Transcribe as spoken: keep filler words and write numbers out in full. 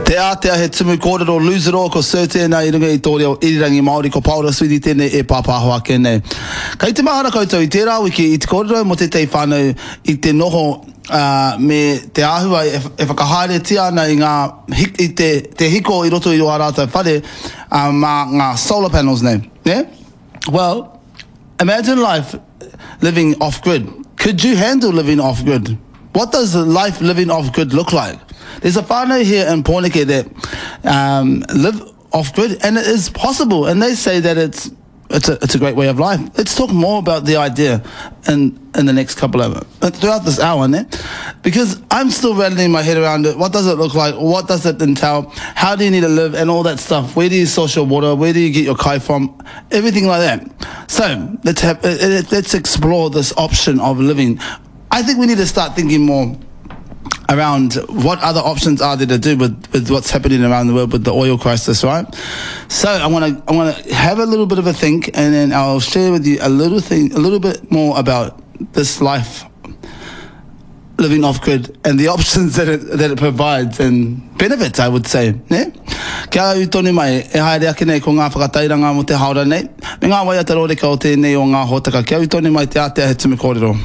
Te ātea he tumu kōrero lose it all ko Sir tēnā i runga i tō reo irirangi Māori ko Paora Sweeney tēnei e pāpāho ake nei. Kei te mahara koutou i tērā wiki i te kōrero mō tētahi whānau i te noho uh, me te āhua e, e whakahaeretia ana i ngā i te, te hiko i roto i o ā rātou whare uh, mā ngā solar panels nei. Yeah? Well, imagine life living off-grid. Could you handle living off-grid? What does life living off-grid look like? There's a whānau here in Pōneke that um, live off-grid, and it is possible. And they say that it's it's a, it's a great way of life. Let's talk more about the idea in, in the next couple of, throughout this hour, ne? Because I'm still rattling my head around it. What does it look like? What does it entail? How do you need to live? And all that stuff. Where do you source your water? Where do you get your kai from? Everything like that. So let's have, let's explore this option of living. I think we need to start thinking more around what other options are there to do with, with what's happening around the world with the oil crisis, right? So I want to I want to have a little bit of a think, and then I'll share with you a little thing, a little bit more about this life living off grid and the options that it, that it provides and benefits, I would say. Ne? Kia ū tonu mai, e haere ake nei ko ngā whakatairanga mo te haora nei, me ngā waiata rōreka o tēnei o ngā hōtaka. Kia ū tonu mai te ātea he tumu kōrero.